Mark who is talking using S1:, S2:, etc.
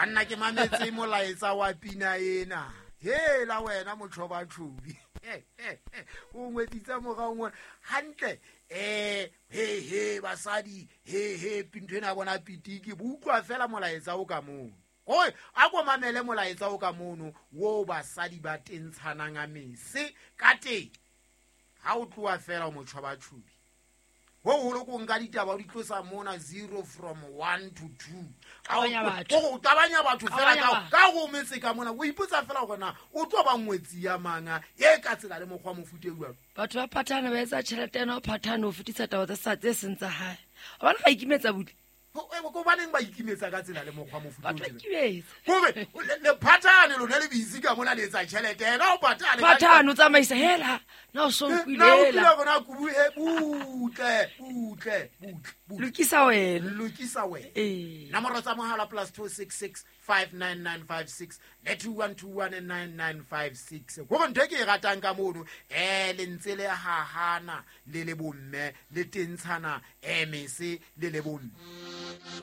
S1: Banna, ke mametse molaetsa wa pina ena. Hela wena motjhobatjhobi, o ngwetsitsa morao ngwana hantle. He he, basadi, he he, ntho ena ya bona pitiki bo utlwa fela molaetsa o ka mono. Kore a ko mamele molaetsa o ka mono wo basadi ba tentshanang a mese ka teng. Ha o tloha fela o motjhobatjhobi, ho holo ko nka ditaba o di tlosa mona 0 from 1 to 2.
S2: Qabanya batho.
S1: O tabanya batho fela.
S2: Qabanya
S1: ka
S2: batho.
S1: Ka go metse ka mona, o ipotsa fela gore na o tlo ba ngwetsi ya manga e ka tsela le mokgwa mofuta e jwalo.
S2: Batho ba phathana, ba etsa tjhelete, ena o phathane o fetisa taba tse sa tse seng tsa hae. Hobane ba ikimetsa butle.
S1: Ko baneng ba ikimetsa ka tsela le mokgwa mofuta o
S2: Batho ba
S1: tjena?
S2: ikimetsa.
S1: Kore le phathane lona le busy ka mona le etsa tjhelete, ena o patale.
S2: Phathane o tsamaisa hela na o so
S1: na o
S2: utlwile
S1: kile
S2: hela.
S1: Gona kubu he, butle butle butle butle.
S2: Lokisa wena.
S1: Lokisa wena.
S2: Ee.
S1: Nomoro tsa mohala +266 59956 le 2121 9956. Kore ntho e ke e ratang ka mono, le ntse le hahana le le bomme, le tentshana mese le le bomme.